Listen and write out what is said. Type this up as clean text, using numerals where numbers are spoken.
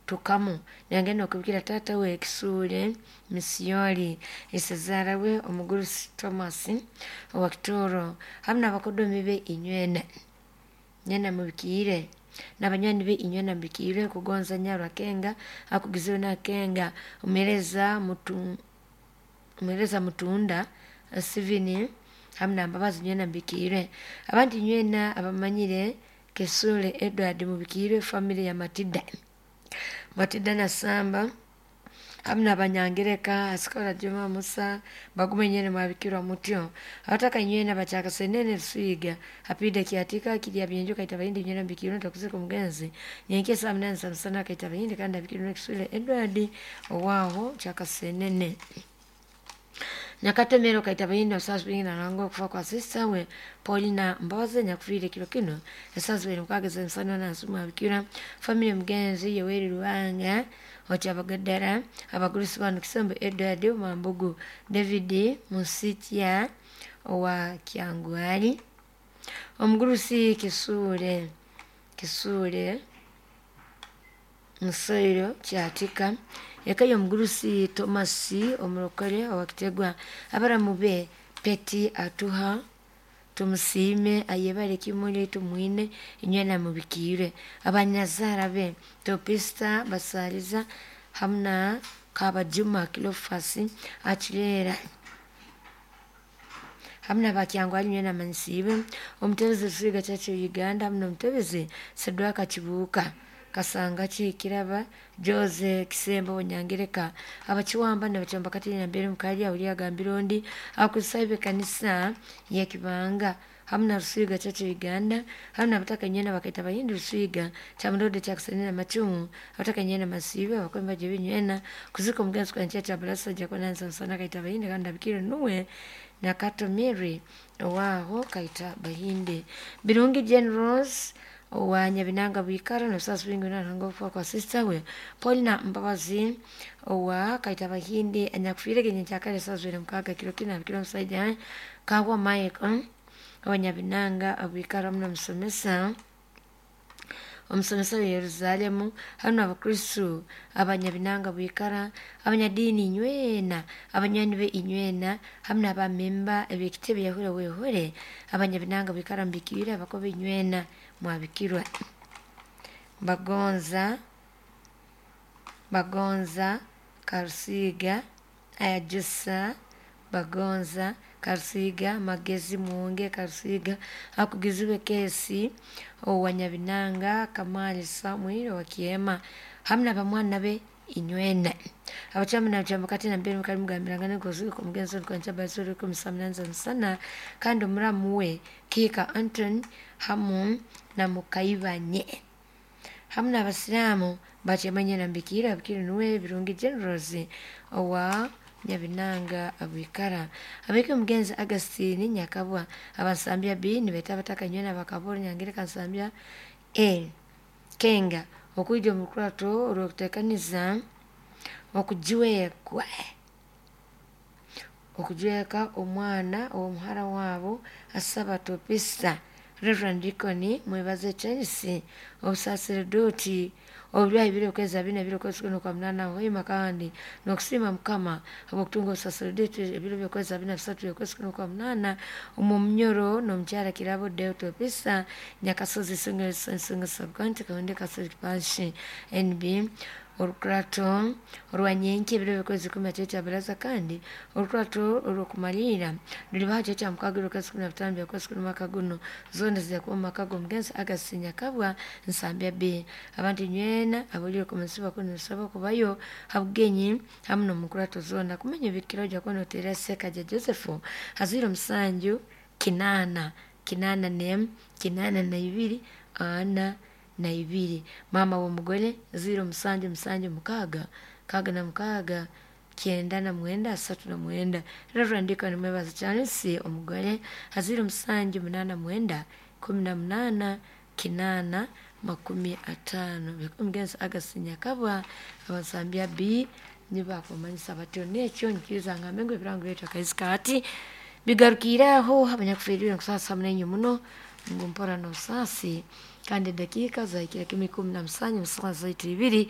Tukamu nagenda okubikira taata we Kisuule Misiori, isezaara we omugurusi Thomas owa Kitooro, hamu n'abakodomi be inywena. Nywena mubikiire n'abanywani be inywena mubikiire. Kugonza Nyarwakenga akugizibwe Nakenga omuheereza mutu omuheereza Mutunda Steven hamu na Mbabazi, nywena mubikiire. Abandi nywena abamanyire Kisule Edward mubikiire. Family ya Matida, Matida Nasamba hamu n'Abanyangereka Asikora Juma Musa bagume, nywena mwabikirwa mutyo. Abataka nywena bakyakasenene Ruswiga apida Kyatika kirya Byenju Kaita Bahindi, nywena mubikirwe. Ntakuzika omugenzi nyenkya saa 8 za musana Kaita Bahindi, kandi abikirwe Kisule Edward owaaho Kyakasenene Nyakatemero Kaita Bahindi. Obusaasi bwingi naranga okufa kwa sisita we Paulina Mbabazi nyakufiire kiro kino esaawa 26 z'emisana nansi. Mwabikira family omugenzi Yoweri Ruhanga Okyabagaddara, abagurusi bano Kisembo Edward Mambugu, David Musitya owa Kyangwali, omugurusi Kisuule Kisuule Musoiro Kyatika, eka y'omugurusi Thomas Omurokore owa Kitegwa, abaramu be Peti Atuha, Tumusiime, Ayebare, Kimuli Tumwine, inywena mubikiire. Abanyazaara be Topista Basaliza hamu na Kabajuma Kilofasi Akireera hamu n'Abakyangwali, nywena manyisiibwe. Omutebezi Rusiga Church of Uganda hamu n'omutebezi Sedwaka Kibuuka Kasanga Kiraba Jose Kisembo Bunyangereka, abakiwamba nabakyamba kati nambere mukali awuli agambire ondi abakristaayo b'ekanisa y'Ekibanga hamu na Rusiga Church of Uganda hamu n'abataka nywena bakaita Bahindi Rusiga Kyamurode Kyakusenene Macumu, abataka nywena masiibe abakombe baje binywena. Kuzika omugenzi kwa nkya kya Jakonansa Nsana Kaita Bahindi, kandi abikire nuwe Nakato Mary owaaho Kaita Bahindi. Birungi Generals owa Nyabinanga Bwikara nobusaasi bwingi naranga okufa kwa sisita we Paulina Mbabazi owa Kaita Bahindi anyakufiire genyenkyakare esaawa 26 kiro kinu. Abikire omusaija Kahwa Michael owa Nyabinanga Bwikara hamu n'omusomesa omusomesa wa Yerusaalemu hamu n'Abakristu Abanyabinanga Bwikara, abanyadiini inywena, abanywani be inywena hamu n'abamemba eb'ekitebe Yahwere Wehore Abanyabinanga Bwikara mubikiire. Abakobe inywena mwabikirwa. Bagonza Bagonza Karusiga Ayajusa Bagonza Karusiga Magezi Mwonge Karusiga akugizibwe Kesi owa Nyabinanga, Kamali Samuel owa Kiema hamu n'abamwana be inywena. Abakyama nabakyamba kati nambere mukali mugambirangana nkozika omugenzi olukwanca basore 18 za musana, kandi omuramu we Kiika Anton hamu na Mukaibanye hamu n'Abasiraamu bakyamanye nambikiire. Abikire nuwe Birungi Generals owa Nyabinanga Bwikara. Abeke omugenzi Agustine Nyakabwa Abansambya B nibeeta abataka nywena bakaboro Nyangereka Nsambya A Kenga okwija omu rukurato orw'okuteekaniza okujwekwa okujweka omwana ow'omuhara waabo asaba Topista Reverend Deacon Mwebaze Charles obusaseredoti obubyahi biri okwezi 4 ebiro okwezi kuno kwa 8 hoima, kandi n'okusiima Mukama habw'okutunga obusaseredoti ebiro by'okwezi 23 okwezi kuno kwa 8 omu Munyoro n'omukyara Kirabo Deo Topista Nyakasozi Nsonga Subcounty Kahonde Catholic Parish NB. Orukurato orwa nyenkya ebiro by'okwezi 10 kya baraza, kandi orukurato orw'okumaliira rulibaho kiro kya 6 okwezi 15 by'okwezi kuno mwaka guno, zoona zijja kuba omu maka g'omugenzi Agustine Nyakabwa Nsambya B. Abantu nywena abulire kumusibwa kuno nibasabwa kubayo ha bugenyi hamu n'omu nkurato zoona. Kumanya ebikiro ojja kuba noteera Sekaja Joseph ha 07 8 81 82 42, maama w'omugole 07 7 6 66 99 39, Reverend Deacon Mwebaze Charles omugole ha 07 89 18 8 50. Omugenzi Agustine Nyakabwa Abansambya B nibakumanyisa batyo. Nekyo nyikiriza ngambe ngu ebirango byaitu akaizi kaati bigarukiire aho. Abanyakufiirirwe nkusaasa hamu nainywe muno ngu mpora n'obusaasi, kandi edakiika zahikire kimu 17 mu saaha zaitu ibiri.